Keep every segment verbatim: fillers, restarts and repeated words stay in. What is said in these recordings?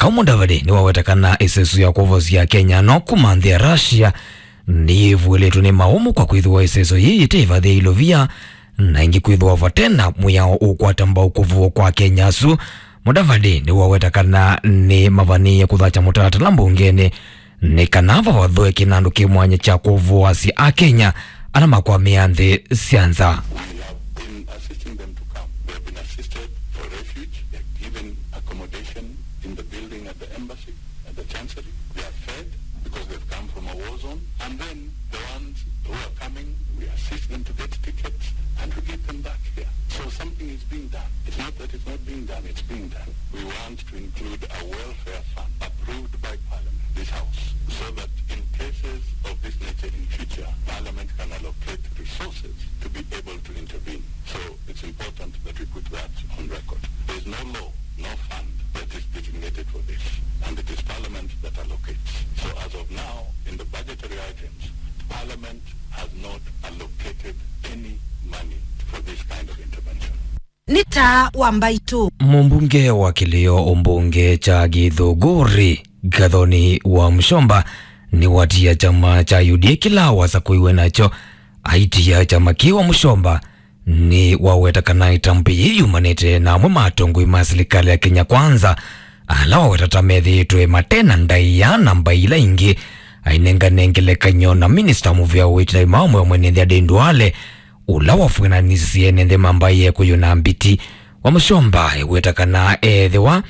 Kau Mudavadi nĩwaweta kana ĩseso ya kwovosya Kenya no kuma nthĩ ya Russia nĩyĩvuĩlĩtwe nĩ maũmũ kwa kwĩthĩwa ĩseso yĩĩ yĩte ĩvathĩ ya ilovia, na ĩngĩ kwĩthĩwa vate na mwĩao ũkwata mbau kũvũwa kwa Kenya asu. Mudavadi nĩwaweta kana nĩ mavanĩĩe kũthakya mũtalatala mbungenĩ nĩ kana vavathũe kĩnandũ kĩ mwanya kya kũvũasya Akenya ala makwamĩa nthĩ sya nza. We have been assisting them to come. They have been assisted for refuge. They're given accommodation in the building at the embassy, at the chancery. They are fed because they've come from a war zone. And then the ones who are coming, we assist them to get tickets and we get them back here. So something is being done. It's not that it's not being done, it's being done. We want to include a welfare fund approved by Parliament, this House, so that in cases of this nature in future, Parliament can allocate resources to be able to intervene. So it's important that we put that on record. There's no law, no fund that is designated for this, and it is Parliament that allocates. So as of now, in the budgetary items, Parliament has not allocated any money for this kind of intervention. Nĩ taa wa mbaitũ. Mũmbunge wa kĩlĩo ũmbunge kya Gĩthũngũri, Gathoni wa Mũshomba, nĩwatia kyama kya U D A kĩla wasakũiwe nakyo. Aitia kyama kĩĩ wa Mũshomba nĩwaweta kana ĩtambya yĩĩ yumanĩte na amwe ma atongoi ma silikalĩ ya Kenya Kwanza, ala waweta ta methĩĩtwe mate na ndaĩa na mbaĩ ila ingĩ. Ainengane ngelekany'o na minista mũvĩa wa ũiiti na maũmũ wa mwene nthĩ Aden Duale, ũla wavw'ananĩsye ene nthĩ ma mbaĩ ya Kĩkũyũ na Mbiti. Wa Mũshomba eweta kana ethĩwa,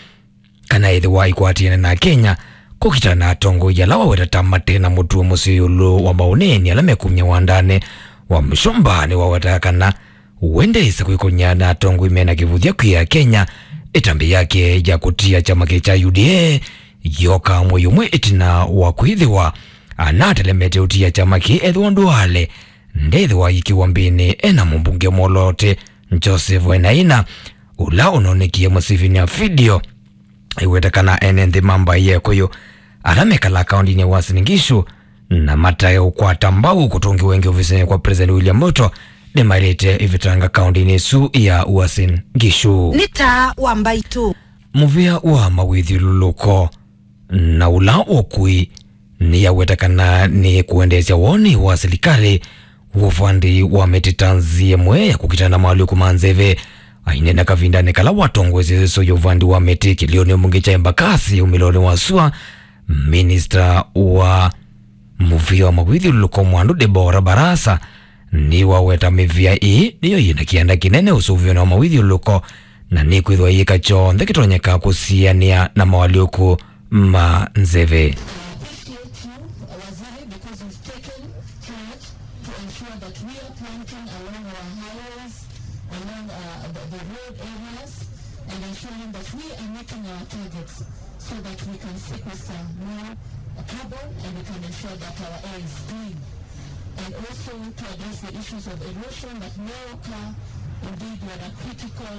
kana ethĩwa aikwatĩane na Kenya kũkita na atongoi ala waweta ta mate na mũtuo mũseo ĩũlũ wa maũneeni ala mekumya wandanĩ. Wa Mũshomba nĩwaweta kana wendete kwĩkony'a na atongoi mena kĩvũthya kwĩ Akenya. Ĩtambya yake ya kũtia kyama kĩ kya U D A yoka mwei ũmwe ĩtina wa kwĩthĩwa anatelemete ũtia kyama kĩ ethĩwa Duale ndethĩwa aikiwa mbĩnĩ ena mũmbunge mwoloote Joseph Wainaina, ũla ũnonekie mũsivini ya video. Aiweta kana ene nthĩ ma mbaĩ ya Kĩkũyũ ala mekalaa kaũndĩnĩ ya Uasin Gishu na matae ũkwata mbau kũtũngĩwa ĩngĩ ovisinĩ kwa President William Ruto nĩmaĩlĩte ĩvĩtanga kaũndĩnĩ ĩsu ya Uasin Gishu. Nĩ taa wa mbaitũ. Mũvĩa wa mawĩthyũlũlũko na ũla ũkui nĩyaweta kana nĩ kũendeesya woni wa silikalĩ wa ũvandi wa mĩtĩ ta nzĩa ĩmwe ya kũkitana na maũlĩku ma nzeve. Aineena kavindanĩ kala watongoesye ĩseso ya ũvandi wa mĩtĩ kĩlĩonĩ mbunge kya Embakasi umĩlonĩ wa sua, minista wa mũvĩa wa mawĩthyũlũlũko Mwandu Deborah Barasa nĩwaweta mĩvĩa ĩĩ nĩyo yĩna kĩanda kĩnene ũsũvĩonĩ wa mawĩthyũlũlũko na nĩkwĩthĩwa yĩka kyonthe kĩtonyeka kũsianĩa na maũlĩku ma nzeve. Appreciate you, Waziri, because you've taken charge to ensure that we are planting along our highways, along, uh, the, the road areas, and ensuring that we are meeting our targets so that we can sequester more carbon and we can ensure that our air is clean. And also to address the issues of erosion that may occur. Indeed, you are a critical,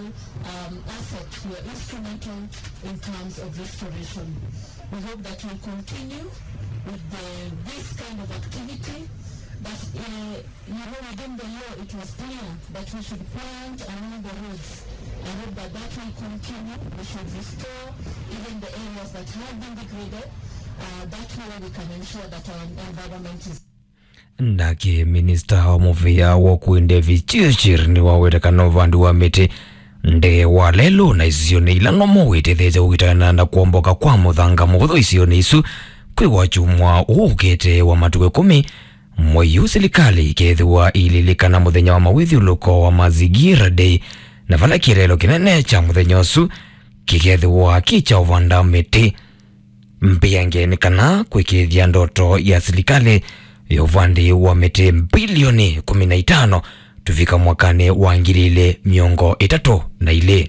um, asset, you are instrumental in terms of restoration. We hope that you continue with the, this kind of activity, that, uh, you know, within the law it was clear that we should plant along the roads. I hope that that will continue. We should restore even the areas that have been degraded. Uh, that way we can ensure that our environment is Nake minista wa mũvĩa wa ũkui David Chirchir nĩwaweta kana ũvandi wa mĩtĩ nde wa lelũ na isionĩ ila nomo wĩtetheesya kũkitana na kwomboka kwa mũthanga mũvũthũ isionĩ isu kwĩ wakyumwa ũũ ũkĩte wa matukũ ĩkũmi. Mwei ũũ silikalĩ ĩkethĩwa ĩililikana mũthenya wa mawĩthyũlũko wa Mazingira Day, na vala kĩeleelo kĩnene kya mũthenya ũsu kĩkethĩwa kĩ kya ũvanda mĩtĩ. Mbĩange nĩ kana kwĩkĩĩthya ndoto ya silikalĩ ya ũvandi wa mĩtĩ mbilioni kũmi na itano tũvika mwakanĩ wa ngili ilĩ mĩongo ĩtatũ na ilĩ.